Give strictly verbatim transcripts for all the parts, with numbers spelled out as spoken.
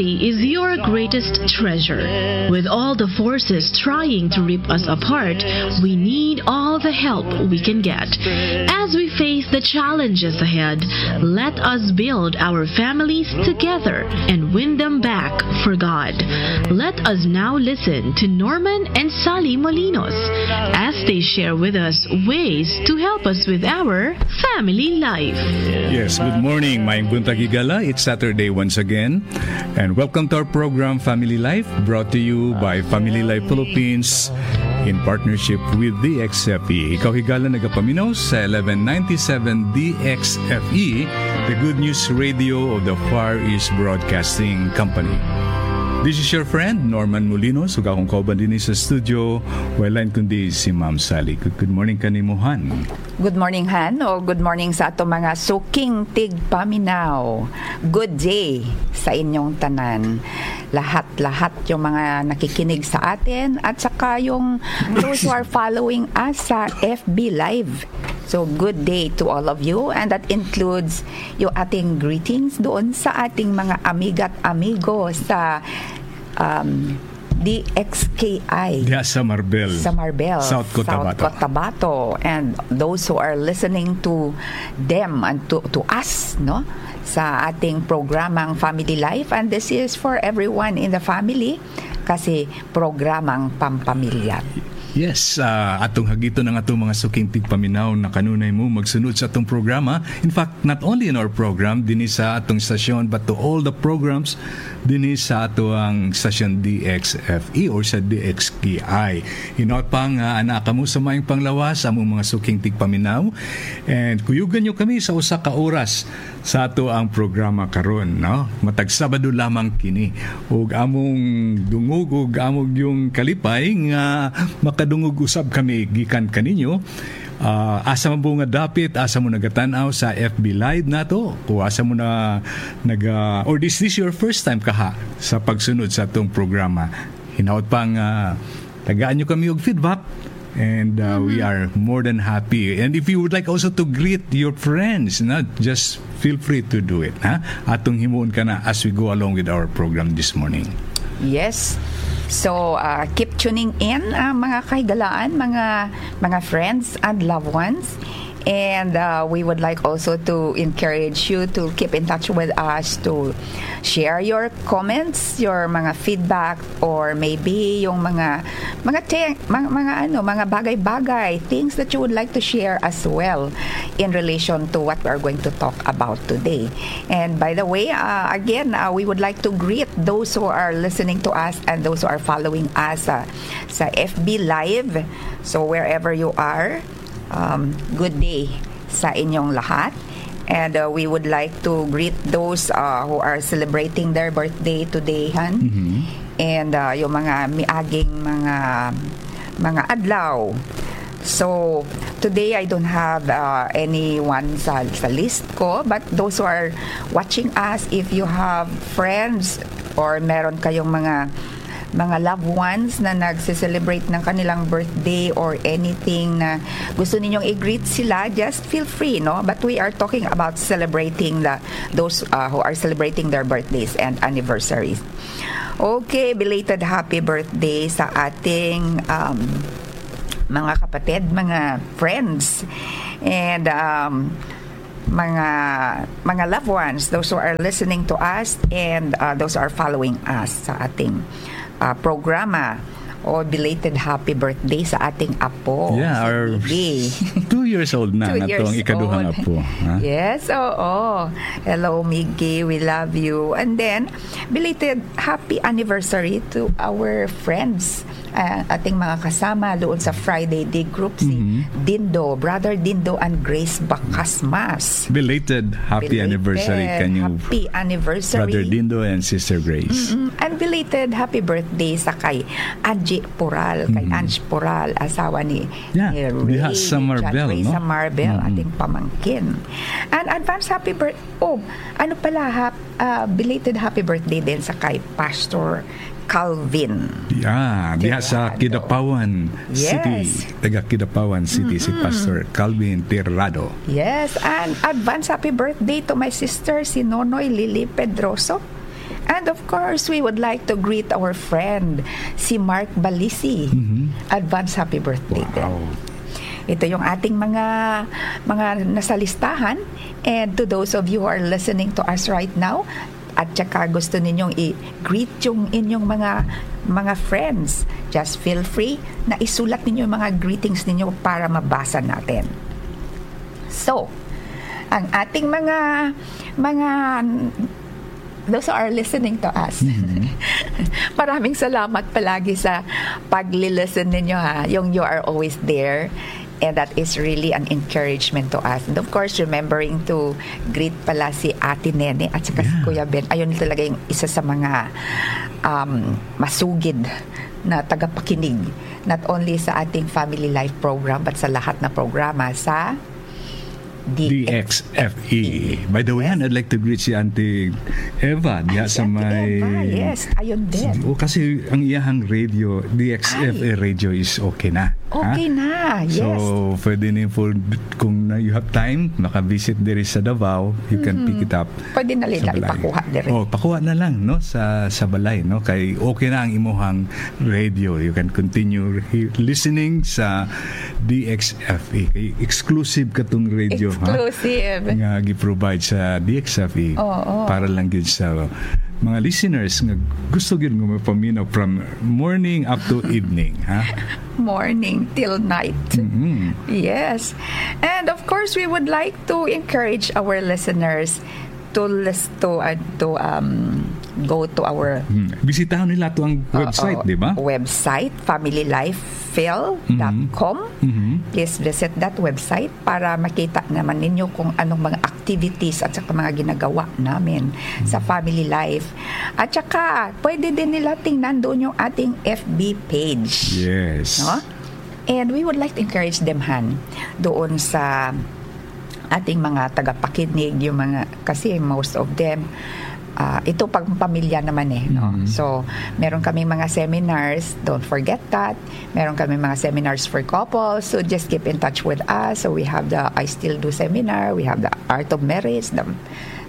is your greatest treasure. With all the forces trying to rip us apart, we need all the help we can get. As we face the challenges ahead, let us build our families together and win them back for God. Let us now listen to Norman and Sally Molinos as they share with us ways to help us with our family life. Yes, good morning. Maayong buntag, higala. It's Saturday once again. And welcome to our program, Family Life, brought to you by Family Life Philippines in partnership with D X F E. Ikaw, higala, nagapaminaw sa eleven ninety-seven D X F E, the good news radio of the Far East Broadcasting Company. This is your friend, Norman Molinos, ug akong kauban dinhi sa studio, wala lang kundi si Ma'am Sally. Good, good morning kanimo, Han. Good morning, Han, o good morning sa ato mga suking tigpaminaw. Good day sa inyong tanan. Lahat-lahat yung mga nakikinig sa atin at saka yung those who are following us sa F B Live. So, good day to all of you, and that includes yung ating greetings doon sa ating mga amiga at amigo sa, um, D X K I. Diha sa Marbel. Sa Marbel, South Cotabato. South Cotabato. And those who are listening to them and to, to us, no? Sa ating programang Family Life. And this is for everyone in the family kasi programang pampamilya. Yes, ah, atong hagiton ang atong mga suking tigpaminaw na kanunay mo magsunod sa atong programa. In fact, not only in our program, dinhi sa atong stasyon, but to all the programs dinhi sa ato ang stasyon D X F E or sa D X K I. Hinaot pa nga anaa kamo sa maayong panglawas, among mga suking tigpaminaw. And kuyugan nyo kami sa usa ka oras sa ato ang programa karon, no? Matag Sabado lamang kini. Ug among dungog ug among yung kalipay nga makadungog usab kami gikan kaninyo. Ah, asa man po nga dapit, asa mo nagatan-aw sa F B Live nato, o asa mo na naga, or is this your first time kaha sa pagsunod sa atong programa? Hinaot pa nga tagaan nyo kami og feedback. And, uh, we are more than happy. And if you would like also to greet your friends, na, just feel free to do it, ha? Atong himuon ka na as we go along with our program this morning. Yes. So, uh, keep tuning in, uh, mga kahigalaan, mga, mga friends and loved ones. And, uh, we would like also to encourage you to keep in touch with us, to share your comments, your mga feedback, or maybe yung mga, mga te-, mga, mga ano, mga bagay-bagay, things that you would like to share as well in relation to what we are going to talk about today. And by the way, uh, again, uh, we would like to greet those who are listening to us and those who are following us, uh, sa F B Live. So wherever you are, um, good day sa inyong lahat. And, uh, we would like to greet those, uh, who are celebrating their birthday today, Han. Mhm. And, uh, yung mga miaging mga, mga adlaw. So, today I don't have, uh, anyone sa, sa list ko, but those who are watching us, if you have friends or meron kayong mga mga loved ones na nagse-celebrate ng kanilang birthday or anything na gusto ninyong i-greet sila, just feel free, no? But we are talking about celebrating the, those, uh, who are celebrating their birthdays and anniversaries. Okay, belated happy birthday sa ating, um, mga kapatid, mga friends, and, um, mga, mga loved ones, those who are listening to us and, uh, those who are following us sa ating, uh, programa. O belated happy birthday sa ating apo, Yeah, si our Bibi. Two years old na, Two nga years tong ikaduhang old. Apo, ha? Yes, oo. Hello, Miggy. We love you. And then, belated happy anniversary to our friends, uh, ating mga kasama doon sa Friday Day Group, si Mhm. Dindo, Brother Dindo and Grace Bacasmas. Belated happy Belated anniversary kanyo, happy anniversary. Brother Dindo and Sister Grace. Mm-mm. And belated happy birthday sa kay Angie Pural, kay Mm-hmm. Ange Pural, asawa ni, Yeah, ni diha Ray, sa ni John Marbel, Ray no? sa Marbel, Mm-hmm. ating pamangkin. And advance happy birth-, oh, ano pala, hap-, ah, belated happy birthday din sa kay Pastor Calvin Yeah, diha sa Tirado. Kidapawan City. Yes. Taga Kidapawan City si Mm-mm. Pastor Calvin Tirado. Yes, and advance happy birthday to my sister, si Nonoy Lily Pedroso. And of course, we would like to greet our friend, si Mark Balisi. Mhm. Advance happy birthday din. Wow. Ito yung ating mga, mga nasa listahan. And to those of you who are listening to us right now, at saka gusto ninyong i-greet yung inyong mga, mga friends, just feel free na isulat ninyo yung mga greetings ninyo para mabasa natin. So, ang ating mga, mga, those who are listening to us, Mhm. maraming salamat palagi sa pag-listen ninyo, ha. Yung you are always there. And that is really an encouragement to us. And of course, remembering to greet pala si Ate Nene at saka si Yeah. Kuya Ben. Ayun talaga yung isa sa mga, um, masugid na tagapakinig, not only sa ating Family Life program, but sa lahat na programa sa D X F E. D X F E. By the way, Yes. I'd like to greet si Auntie Eva diya Ay, si sa Auntie may Eva, yes. Ayun din. Oh, kasi ang iyahang radio, D X F A Ay. radio is okay na. Ha? Okay na, yes. So, pwede ni for, kung na you have time, makavisit diri sa Davao, you can Mhm. pick it up Pwede na sa nila balay. ipakuha diri. Oh, pakuha na lang, no, sa, sa balay, no, kay okay na ang imuhang radio. You can continue he-, listening sa D X F E. Kay exclusive katong radio, ha? Exclusive. Nga gi-provide sa D X F E Oo. para lang gyud sa mga listeners nga gusto gyud nga mapaminaw from morning up to evening, ha? Morning till night. Mm-mm. Yes. And of course, we would like to encourage our listeners to lis-, to, uh, to, um, go to our Hmm. Bisitahan nila to ang Oo, website, di ba? website, family life phil dot com. Mhm. Mhm. Please visit that website para makita naman ninyo kung anong mga activities at saka mga ginagawa namin sa Mhm. family life. At saka, pwede din nila tingnan doon yung ating F B page. Yes. No? And we would like to encourage them, Han, doon sa ating mga tagapakinig, yung mga, kasi most of them, ah, ito pag pamilya naman eh, no? Mm. So, meron kaming mga seminars, don't forget that. Meron kami mga seminars for couples, so just keep in touch with us. So, we have the I Still Do seminar, we have the Art of Marriage, the,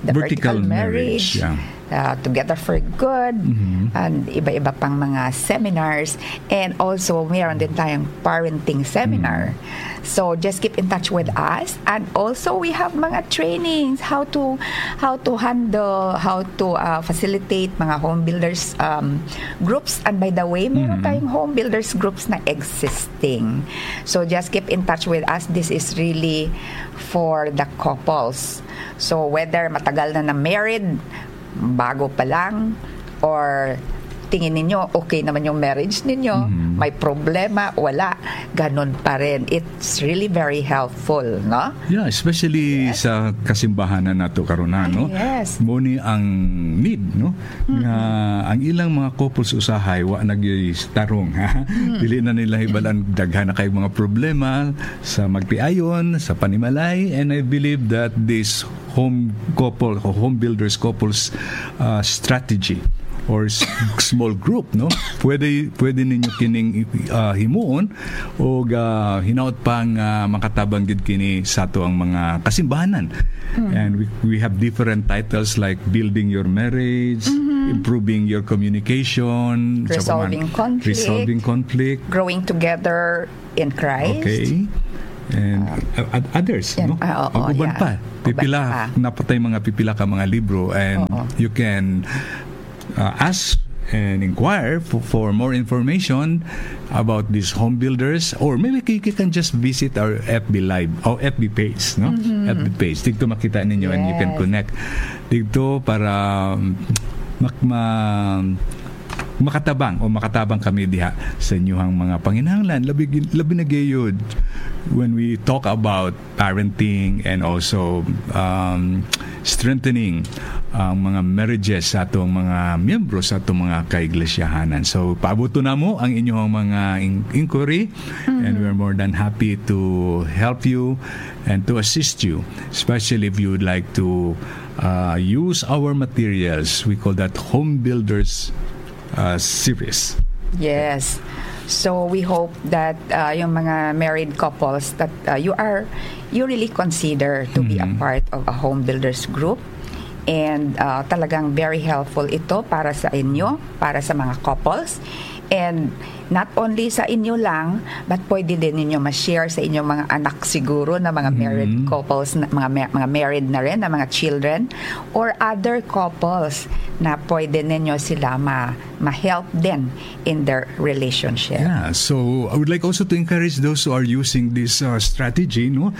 the Vertical Vertical Marriage, Marriage, yeah. uh, Together for Good, Mhm. and iba-iba pang mga seminars. And also, meron din tayong parenting seminar. Mm. So, just keep in touch with us. And also, we have mga trainings, how to, how to handle, how to, uh, facilitate mga home builders, um, groups. And by the way, meron Mhm. tayong home builders groups na existing. So, just keep in touch with us. This is really for the couples. So, whether matagal na na married, bago pa lang, or tingin ninyo okay naman yung marriage ninyo, Mhm. may problema, wala, ganun pa rin. It's really very helpful, no? Yeah, especially Yes. sa kasimbahanan nato karon, ha, no? Ay, yes. Mo ni ang need, no? Mm-mm. Nga ang ilang mga couples usahay wa na gyud tarong, ha? Mm. Dili na nila hibal-an, daghan na kay mga problema sa magtiayon, sa panimalay, and I believe that this home couple o home builders couples, uh, strategy or s-, small group, no? Pwede, pwede ninyo kining, uh, himuon o, uh, hinaot pa nga makatabang gid kini sa ato ang mga kasimbahanan. Mm. And we, we have different titles like building your marriage, Mm-hmm. improving your communication, sa Resolving pamahal-, conflict. resolving conflict. Growing together in Christ. Okay. And, uh, uh, others, Yeah. no? Ah, oo, Ang uban yeah. pa. Uban Pipila, pa. napatay mga pipila ka mga libro, and Oo. you can, uh, ask and inquire for, for more information about these home builders, or maybe you, you can just visit our F B Live or F B page, no? Mm-hmm. F B page. Dito makita ninyo and you can Yes. connect dito para, um, mak-, ma-, makatabang o makatabang kami diha sa inyuhang mga panginahanglan. Labi, labi na gayud when we talk about parenting and also, um, strengthening ang mga marriages sa atong mga miyembro sa atong mga kaiglesyahanan. So, paabuto namo ang inyuhang mga in-, inquiry, and Mm-hmm. we're more than happy to help you and to assist you, especially if you would like to, uh, use our materials. We call that Home Builders, uh, series. Yes. So we hope that, uh, yung mga married couples that, uh, you are, you really consider to be a Mhm. part of a home builders group. And uh, talagang very helpful ito para sa inyo, para sa mga couples. And not only sa inyo lang, but pwede din ninyo ma-share sa inyong mga anak siguro na mga married Mm. couples, na, mga, ma- mga married na rin, na mga children, or other couples na pwede ninyo sila ma- ma-help din in their relationship. Yeah, so I would like also to encourage those who are using this uh, strategy, no?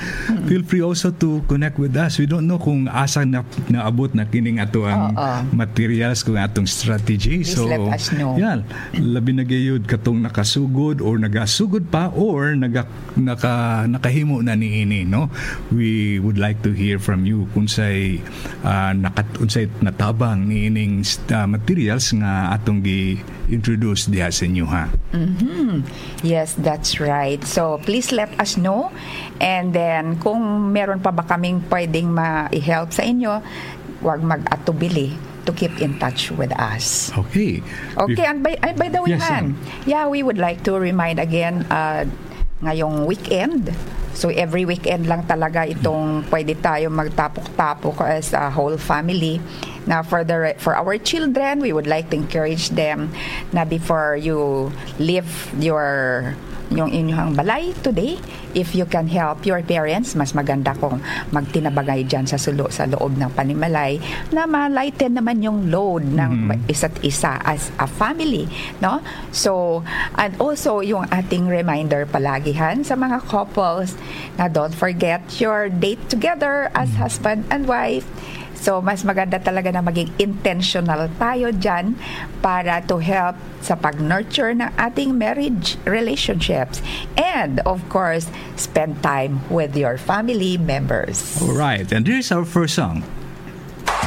Feel free also to connect with us. We don't know kung asa na naabot na kining ato ang Oo. materials, kung atong strategy. Please So, let us know. yeah, labi na gayud katong nakasugod or nagasugod pa or naga, naka, nakahimo na niini, no? We would like to hear from you kung say uh, nakat unsay natabang niining uh, materials nga atong gi-introduce diha sa inyo, ha. Mhm. Yes, that's right. So please let us know. And then kung meron pa ba kaming pwedeng ma-help sa inyo, huwag mag-atubili to keep in touch with us. Okay. Okay, If- and by, and by the way, Yes, man, Sam. yeah, we would like to remind again uh, ngayong weekend. So every weekend lang talaga itong pwede tayo magtapok-tapok as a whole family. Now for the re- for our children, we would like to encourage them na before you leave your yung inyong balay today, if you can help your parents, mas maganda kung magtinabangay dyan sa sulo sa loob ng panimalay na ma-lighten naman yung load ng Mhm. isa't isa as a family, no? So, and also yung ating reminder palagi han sa mga couples na don't forget your date together as Mhm. husband and wife. So, mas maganda talaga na maging intentional tayo dyan para to help sa pag-nurture ng ating marriage relationships. And, of course, spend time with your family members. All right, and here's our first song.